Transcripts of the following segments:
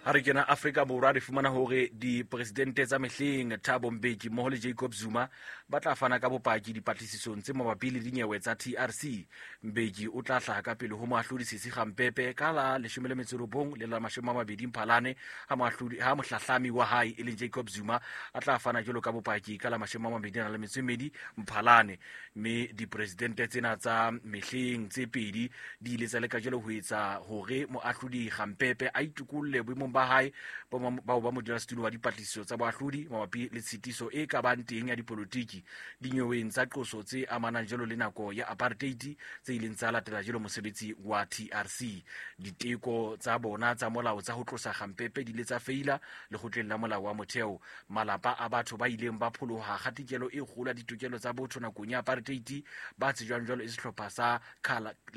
Ha re kena Afrika Borwa, re fumana hore dipresidente tsa mehleng Thabo Mbeki mmoho le Jacob Zuma ba tla fana ka bopaki dipatlisisong tse mabapi le dinyewe tsa TRC. Mbeki o tla hlaha ka pele ho moahlodi Sisi Gampepe ka la 19 le la 20 Mphalane, ha moahlodi ha mohlahlami wa hae e leng Jacob Zuma a tla fana jwalo ka bopaki ka la 22 Mphalane. Mme dipresidente tsena tsa mehleng tse pedi di ile tsa leka jwalo ho etsa hore moahlodi Gampepe a itokolle boemong ba hae bao ba modulasetulo wa dipatlisiso tsa boahlodi mabapi le tshitiso e ka bang teng ya dipolotiki dinyeweng tsa qoso tse amanang jwalo le nako ya apartheid tse ileng tsa latela jwalo mosebetsi wa TRC. Diteko tsa bona tsa molao tsa ho tlosa Gampepe di ile tsa feila lekgotleng la molao wa motheo. Malapa a batho ba ileng ba pholoha kgatikelo e kgolo ya ditokelo tsa botho nakong ya apartheid ba tsejwang jwalo e sehlopha sa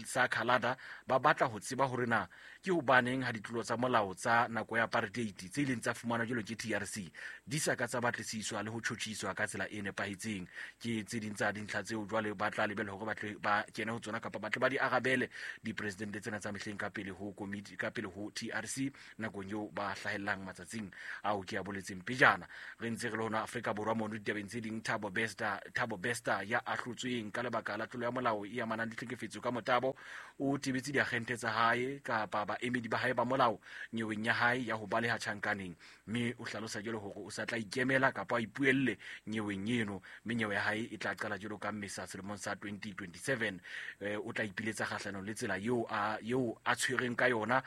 sa Khalada ba batla ho tseba hore na ke hobaneng ha ditlolo tsa molao tsa nako ya apartheid tse ileng tsa fumanwa jwalo ke TRC di sa ka tsa batlisiswa le ho tjhotjhiswa ka tsela e nepahetseng. Ke tse ding tsa dintlha tseo jwale ba tla lebella hore ba tle ba kene ho tsona kapa ba tle ba di arabele dipresidente tsena tsa mehleng ka pele ho komiti, ka pele ho TRC nakong eo ba hlahellang matsatsing ao ke a boletseng pejana. Re ntse re le hona Afrika Borwa mono ditabeng tse ding, Thabo Bester, Thabo Bester ya ahlotsweng ka lebaka la tlolo ya molao e amanang le tlhekefetso ka motabo o tebetse diagente tsa hae kapa baemedi ba hae ba molao nyeweng ya hae ya ho baleha tjhankaneng, mme o hlalosa jwalo hore o sa tla ikemela kapa a ipuelle nyeweng eno, mme nyewe ya hae e tla qala jwalo ka Mmesa selemong sa 2027. O tla ipiletsa kgahlanong le tsela eo a eo a tshwereng ka yona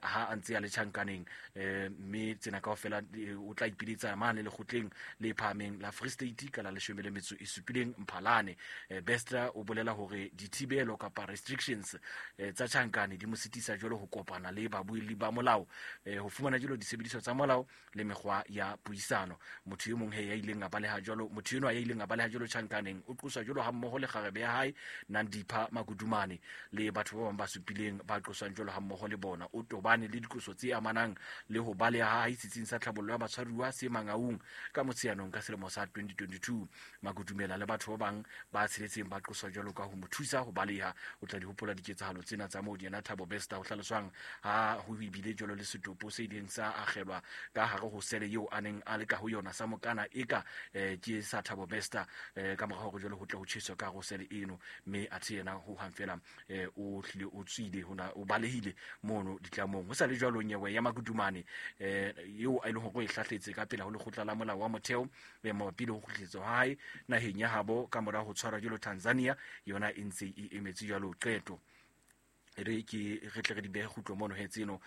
ha a ntse a le tjhankaneng, mme tsena kaofela o tla ipiletsa mane lekgotleng le phahameng la Free State ka la 17 Mphalane. Bester o bolela hore dithibelo kapa restrictions tsa tjhankane di mo sitisa jwalo ho kopana le babuelli ba molao, ho fumana jwalo disebediswa tsa molao le mekgwa ya puisano. Motho e mong he ya ileng a baleha jwalo, motho enwa ya ileng a baleha jwalo tjhankaneng o qoswa jwalo ha mmoho le kgarebe ya hae Nandipha Magudumane le batho ba bang ba supileng ba qoswang jwalo ha mmoho le bona. O tobane le diqoso tse amanang le ho baleha ha hae setsing sa tlhabollo ya batshwaruwa se Mangaung ka Motsheanong ka selemo sa 2022. Makudumela le batho ba bang ba tsheletseng ba qoswa jwalo ka ho mo thusa ho baleha. O tla di hopola diketsahalo tsena tsa moo yena Thabo Bester ho hlaloswang ha ho ebile jwalo le setopo se ileng sa akgelwa ka hare ho sele eo a neng a le ka ho yona sa mokana eka ke sa Thabo Bester, ka mora hore jwalo ho tle ho tjheswe ka hare ho sele eno, mme athe yena ho hang fela o hlile o tswile hona o balehile mono ditlamong. Ho sa le jwalo nyewe ya Makudumane eo a ileng hore o e hlahletse ka pela ho lekgotla la molao wa motheo mabapi le ho kgutlisetswa ha hae naheng ya habo ka mora ho tshwarwa jwalo Tanzania, yona e ntse e emetse jwalo qeto. Re ke re tle re di behe kgutlo mono he tseno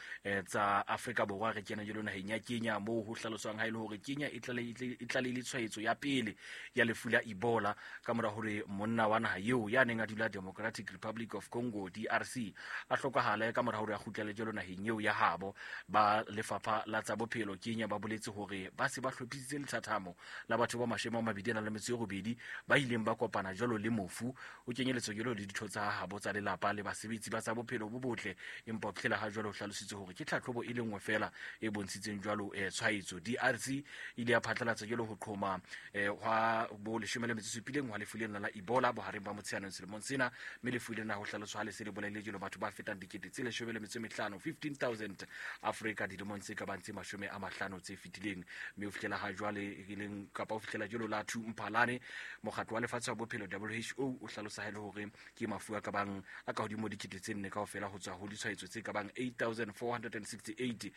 tsa Afrika Borwa, re kena jwalo naheng ya Kenya moo ho hlaloswang ha e le hore Kenya e tlalehile tshwaetso ya pele ya lefu la Ebola ka mora hore monna wa naha eo ya neng a dula Democratic Republic of Congo DRC a hlokahale ka mora hore a kgutlele jwalo naheng eo ya habo. Ba lefapha la tsa bophelo Kenya ba boletse hore ba se ba hlophisitse lethathamo la batho ba 28 ba ileng ba kopana jwalo le mofu, o kenyeletswa jwalo le ditho tsa habo tsa lelapa le basebetsi ba tsa bophelo bo botle. Empa ho fihlela ha jwalo ho hlalositswe hore ke tlhatlhobo e le nngwe fela e bontshitseng jwalo tshwaetso. DRC e ile ya phatlalatsa jwalo ho qhoma hwa bo 17 hwa lefu lena la Ebola bohareng ba Motsheanong selemong sena, mme lefu lena ho hlaloswa ha le se le bolaile jwalo batho ba fetang 15,000, 15,000 Afrika dilemong tse ka bang tse 50 tse fetileng. Mme ho fihlela ha jwale e leng kapa ho fihlela jwalo la 2 Mphalane, mokgatlo wa lefatshe wa bophelo WHO o hlalosa ha e le hore ke mafu a ka bang a ka hodimo 4,000 kaofela ho tswa ho ditshwaetso tse ka bang 8,468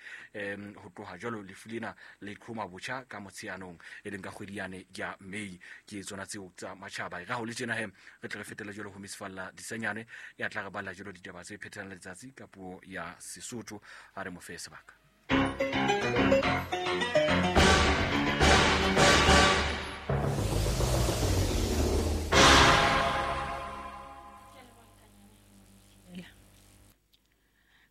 ho tloha jwalo lefu lena le qhoma botjha ka Motsheanong e leng ka kgwedi yane ya May. Ke tsona tseo tsa matjhaba. E ra ho le tjena he re tle re fetele jwalo ho Miss Falla Disanyane ya tla re balla jwalo ditaba tse phethang letsatsi ka puo ya Sesotho. A re mo fe sebaka.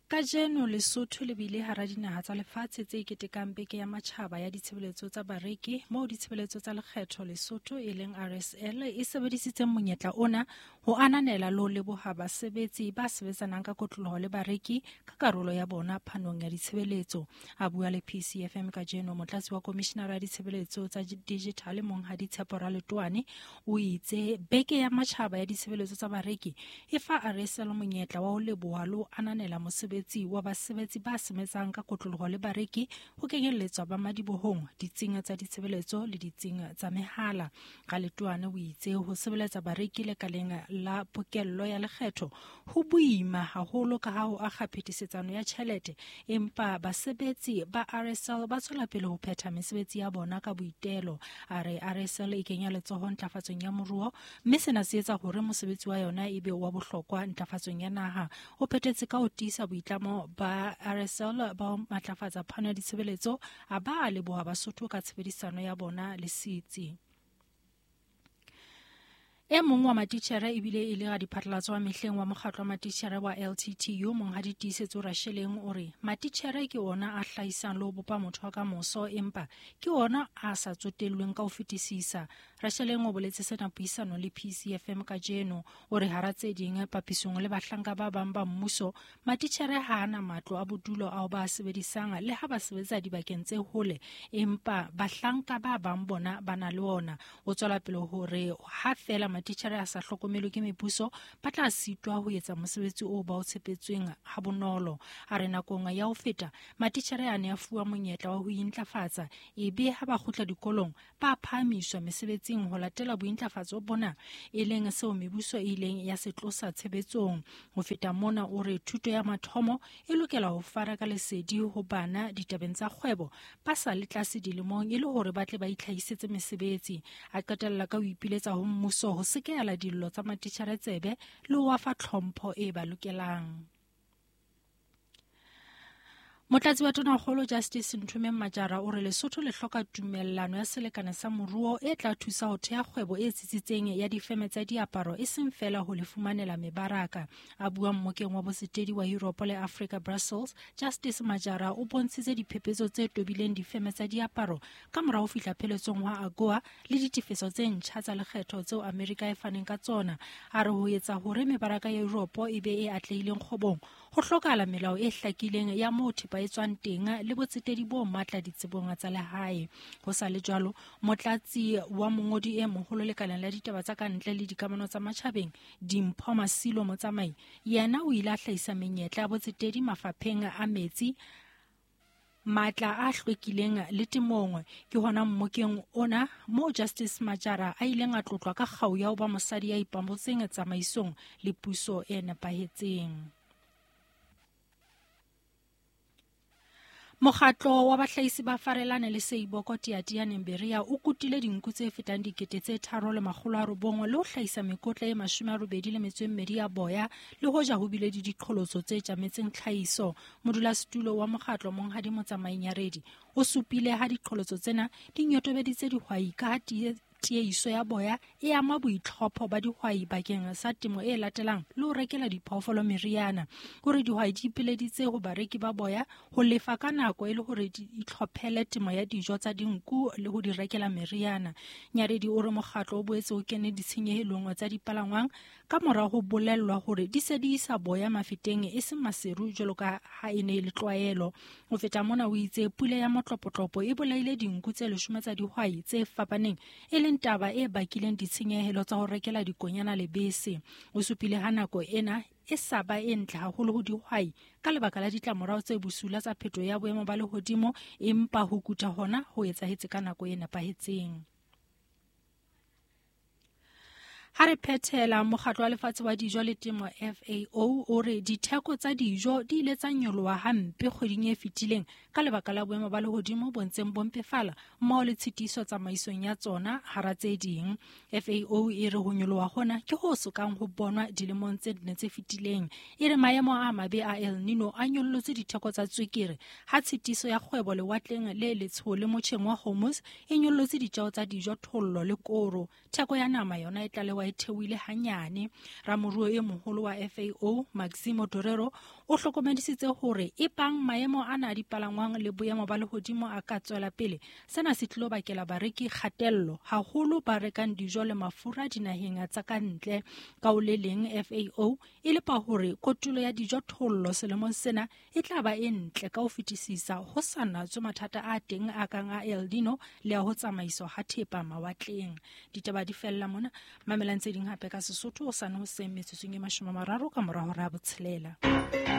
Kajeno Lesotho le bile hara dinaha tsa lefatshe tse ketekang beke ya matjhaba ya ditshebeletso tsa bareki, moo ditshebeletso tsa lekgetho Lesotho e leng RSL e sebedisitseng monyetla ona ho ananela le ho leboha basebetsi ba sebetsanang ka kotloloho le bareki ka karolo ya bona phanong ya ditshebeletso. A bua le PCFM kajeno, motlatsi wa komishinara ya ditshebeletso tsa digital Monghadi Tshepo Raletoane o itse beke ya matjhaba ya ditshebeletso tsa bareki e fa RSL monyetla wa ho leboha le ho ananela mosebetsi wa basebetsi ba sebetsang ka kotloloho le bareki, ho kenyelletswa ba madibohong, ditsing tsa ditshebeletso le ditsing tsa mehala. Raletoane o itse ho sebeletsa bareki lekaleng la pokello ya lekgetho ho boima haholo ka ha ho akga phetisetsano ya tjhelete, empa basebetsi ba RSL ba tswela pele ho phetha mesebetsi ya bona ka boitelo. A re RSL e kenya letsoho ntlafatsong ya moruo, mme sena se etsa hore mosebetsi wa yona e be wa bohlokwa ntlafatsong ya naha. O phethetse ka ho tiisa boitlamo ba RSL ba ho matlafatsa phano ya ditshebeletso, a ba a leboha Basotho ka tshebedisano ya bona le setsi. E mong wa matitjhere ebile e le radiphatlalatso wa mehleng wa mokgatlo wa matitjhere wa LTTU, Monghadi Tiisetso Rasheleng, o re matitjhere ke ona a hlahisang le ho bopa motho wa kamoso, empa ke ona a sa tsotellweng ka ho fetisisa. Rasheleng o boletse sena puisanong le PCFM kajeno. O re hara tse ding, papisong le bahlanka ba bang ba mmuso, matitjhere ha a na matlo a bodulo ao ba a sebedisang le ha ba sebetsa dibakeng tse hole, empa bahlanka ba bang bona ba na le ona. O tswela pele hore ha feela matitjhere a sa hlokomelwe ke mebuso, ba tla sitwa ho etsa mosebetsi oo ba o tshepetsweng ha bonolo. A re nakong ya ho feta, matitjhere a ne a fuwa monyetla wa ho intlafatsa, ebe ha ba kgutla dikolong ba phahamiswa mesebetsing ho latela bointlafatso bona, e leng seo mebuso e ileng ya se tlosa tshebetsong. Ho feta mona, o re thuto ya mathomo e lokela ho fana ka lesedi ho bana ditabeng tsa kgwebo ba sa le tlase dilemong, e le hore ba tle ba itlhahisetse mesebetsi. A qetella ka ho ipiletsa ho mmuso ho sekehela dillo tsa matitjhere tsebe le ho fa tlhompho e ba lokelang. Motlatsi wa Tonakgolo Justice Nthomeng Majara o re Lesotho le hloka tumellano ya selekane sa moruo e tla thusa ho theha kgwebo e tsitsitseng ya difeme tsa diaparo, e seng feela ho le fumanela mebaraka. A bua mmokeng wa botsetedi wa Europe le Africa Brussels, Justice Majara o bontshitse diphephetso tse tobileng difeme tsa diaparo ka mora ho fihla pheletsong hwa AGOA le ditefetso tse ntjha tsa lekgetho tseo Amerika e faneng ka tsona. A re ho etsa hore mebaraka ya Europe e be e atlehileng kgwebong, ho hlokahala melao e hlakileng ya moo thepa e tswang teng le botsetedi bo matla ditsebong tsa lehae. Ho sa le jwalo, motlatsi wa mongodi e moholo lekaleng la ditaba tsa kantle le dikamano tsa matjhabeng, Dimpho Masilo Motsamai, yena o ile a hlahisa menyetla ya botsetedi mafapheng a metsi, matla a hlwekileng le temong. Ke hona mmokeng ona moo Justice Majara a ileng a tlotlwa ka kgau ya ho ba mosadi ya ipabotseng tsamaisong le puso e nepahetseng. Mokgatlo wa bahlahisi ba Farelane le Seiboko Teatianeng Berea o kutile dinku tse fetang 3,900 le ho hlahisa mekotla e 82 ya boya, le hoja ho bile le diqholotso tse tjametseng tlhahiso. Modulasetulo wa mokgatlo Monghadi Motsamai Nyaredi o supile ha diqholotso tsena di nyotobeditse dihwai ka ha tiehiso ya boya e ama boitlhopho ba dihwai bakeng sa temo e latelang le ho rekela diphoofolo meriana. O re dihwai di ipileditse ho bareki ba boya ho lefa ka nako e le hore di itlhophele temo ya dijo tsa dinku le ho di rekela meriana. Nyaredi o re mokgatlo o boetse o kene ditshenyehelong tsa dipalangwang ka mora ho bolellwa hore di se di isa boya mafeteng e seng Maseru jwalo ka ha e ne e le tlwaelo. Ho feta mona, o itse pula ya motlopotlopo e bolaile dinku tse 10 tsa dihwai tse fapaneng, e leng taba e bakileng ditshenyehelo tsa ho rekela dikonyana lebese. O supile ha nako ena e sa ba e ntle haholo ho dihwai ka lebaka la ditlamorao tse bosula tsa phetho ya boemo ba lehodimo, empa ho kuta hona ho etsahetse ka nako e nepahetseng. Ha re phethela, mokgatlo wa lefatshe wa dijo le temo FAO o re ditheko tsa dijo di ile tsa nyoloha hampe kgweding e fetileng ka lebaka la boemo ba lehodimo bo ntseng bo mpefala mmoho le tshitiso tsamaisong ya tsona hara tse ding. FAO e re ho nyoloha hona ke ho sokang ho bonwa dilemong tse nne tse fetileng. E re maemo a mabe a El Nino a nyollotse ditheko tsa tswekere ha tshitiso ya kgwebo lewatleng le letsho le motjheng wa Hormuz e nyollotse ditjeo tsa dijo, thollo le koro. Theko ya nama yona e tlalewa e theohile hanyane. Ramoruo e moholo wa FAO Maximo Torero O hlokomedisitse hore ebang maemo ana a dipalangwang le boemo ba lehodimo a ka tswela pele, sena se tlilo bakela bareki kgatello, haholo ba rekang dijo le mafura dinaheng tsa ka ntle. Ka ho le leng, FAO e lepa hore kotulo ya dijothollo selemong sena e tla ba e ntle ka ho fetisisa ho sa natswe mathata a teng a kang a El Nino le a ho tsamaiswa ha thepa mawatleng. Ditaba di fella mona. Mamelang tse ding hape ka Sesotho hosane hoseng metsotsong e 30 ka mora hora ya 6.